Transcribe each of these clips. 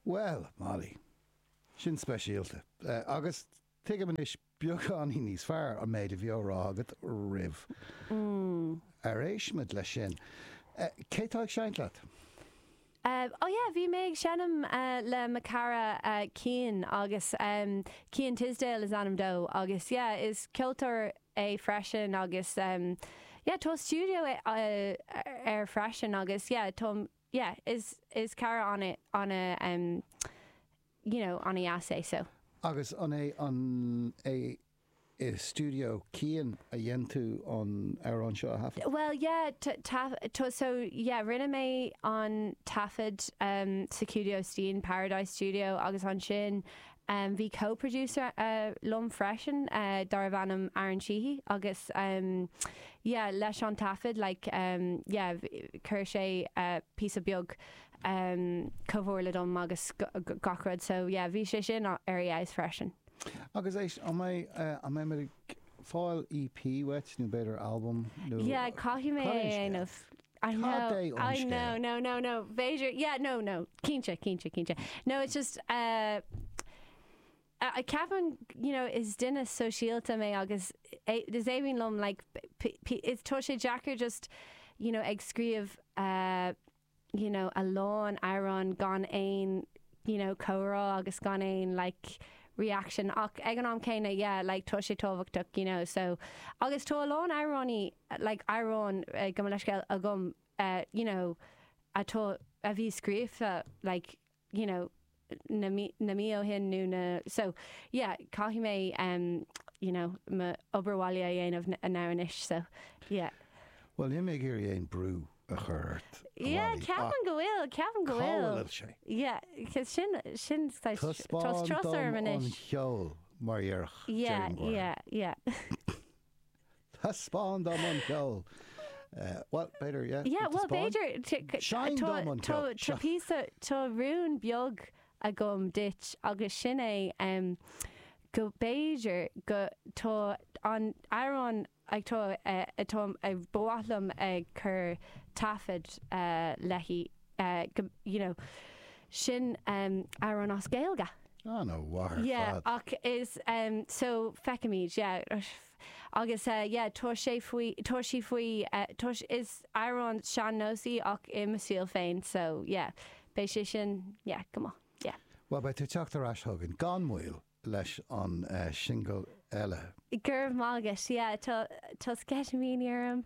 Bhuel, Molly, sin speisialta. Agus tuigim anois beagáinín níos fearr an méid a bhí á rá agat roimh ar éist muid leis sin. Cé tá ag seinnt leat? Oh yeah, bhí mé ag seinm le mo cara Cian agus Cian Tisdale is ainm dó agus yeah, is ceoltóir é freisin agus yeah, tá stiúideo air freisin agus yeah, tá yeah, is is cara ana ana um you know, ana dheas é so. Agus an é an é i stiúideo Cian a dhein tú an amhrán seo a thaifead? Bhuel yeah, tá so yeah rinne mé an taifead um sa stiúideo Steen, Paradise Studio agus ansin um bhí co-producer liom freisin darbh ainm Aaron Sheehy agus um yeah leis an taifead like um yeah chuir sé píosa beag um comhairle dom agus gach rud so yeah bhí sé sin ar fheabhas freisin. Agus éist, an mbeidh, an mbeidh muid ag fáil EP uait nó b'fhéidir albam nó Yeah caithfidh mé cad é é a an scéal? dhéanamh. I Cad know, é an I know, scéal? no, no, no, b'fhéidir, yeah, no, no, cinnte, cinnte, cinnte. No, it's just, uh, uh, ceapaim, you know, is duine sóisialta mé agus is aoibhinn liom, like, is tá sé deacair just, you know, ag scríobh, uh, you know, a lán amhrán gan aon, you know, comhrá agus gan aon, like, reaction ach ag an am céanna, yeah, like, tá sé tábhachtach, you know, so, agus tá a lán amhránaí, like, amhráin, gabh mo leithscéal, agam, you know, atá, a bhí scríofa, like, you know, na mí, na mí ó shin nó na, so, yeah, caithfidh mé, em, you know, mo obair bhaile a dhéanamh now anois, so, yeah. Bhuel, níl mé ag iarraidh aon brú a chur ort, a Yeah, Mholly, ach ceapaim go bhfuil, ceapaim go cá bhfuil. bhfuil sé? Yeah, 'cause sin, sin saghas, tá Taispeáin strus dom orm an anois. ceol, mar a déarfadh Yeah, Jerry Maguire. yeah, yeah. Taispeáin dom an ceol! Bhuel, b'fhéidir, yeah. Yeah, bhuel, b'fhéidir, Seinn dom an ceol! Tá píosa, tá rún beag agam duit agus sin é go b'fhéidir go, tá an amhrán atá, atá, ba mhaith liom ag cur taifead léi, go, you know, sin amhrán as Gaeilge. An-mhaith ar Yeah, fad. ach is, so feicfimid, yeah. Agus yeah, tá sé faoi, tá sí faoi, tá, is amhrán sean-nós í ach i mo stíl féin, so yeah, beidh sé sin, yeah, go maith, yeah. Bhuel, beidh tú ag teacht ar ais chugainn gan mhoill leis an singil eile. Go raibh maith agat, yeah, tá, tá sceitimíní orm.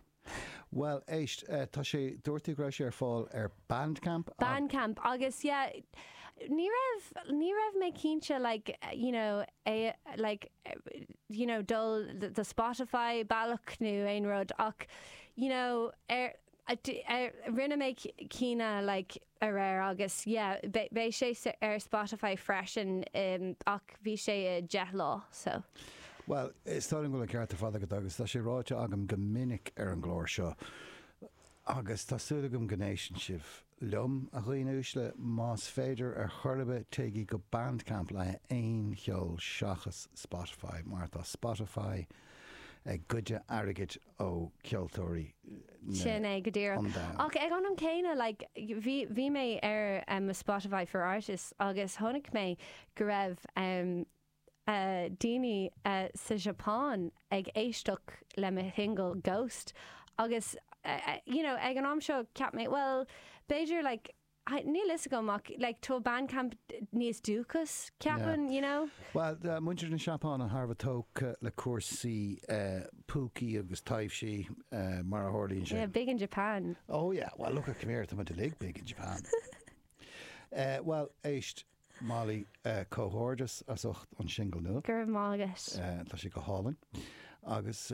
Bhuel, éist, tá sé, dúirt tú go raibh sé ar fáil ar Bandcamp? Bandcamp agus yeah, ní raibh, ní raibh mé cinnte like, you know, é, like, you know, dul do Spotify bealach nó aon rud ach, you know, ar, ar, rinne mé cinneadh like, aréir agus yeah, beidh sé ar Spotify freisin ach bhí sé i 10 lá so. Bhuel, is dóigh liom go bhfuil an ceart ar fad agat agus tá sé ráite agam go minic ar an gclár seo agus tá súil agam go n-éisteann sibh liom, a dhaoine uaisle, más féidir ar chor ar bith téigí go Bandcamp le haghaidh aon cheol seachas Spotify mar tá Spotify ag goid airgid ó cheoltóirí na Sin é go díreach. an domhain. Ach ag an am céanna, like, bhí, bhí mé ar um, Spotify for Artists agus chonaic mé go raibh um, uh, daoine uh, sa Japan ag éisteacht le mo shingil Ghost agus uh, uh, you know, ag an am seo cheap mé, well, b'fhéidir like, Níl fhios agam ach like tá Bandcamp níos dúchas ceapaim, you know? Bhuel, muintir na Seapáine thar a bheith tógtha le cúrsaí púcaí agus taibhsí, mar a tharlaíonn sé. Yeah, big in Japan. Oh yeah, well look at, come here, tá muid uilig big in Japan. Bhuel, éist, Molly, comhghairdeas as ucht an singil nua. Go raibh maith agat. Tá sé go hálainn. Agus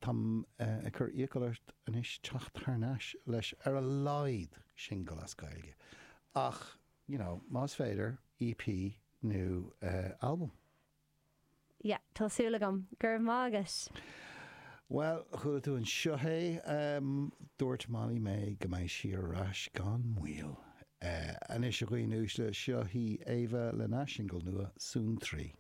táim ag cur iachall ort anois teacht thar n-ais leis ar a laghad singil as Gaeilge. Ach, you know, más féidir, EP nó albam. Yeah, tá súil agam. Go raibh maith agat. Bhuel, chuala tú anseo é. Dúirt Molly Mae go mbeidh sí ar ais gan mhoill. Anois, a dhaoine uaisle, seo í Éabha lena singil nua, Suantraí.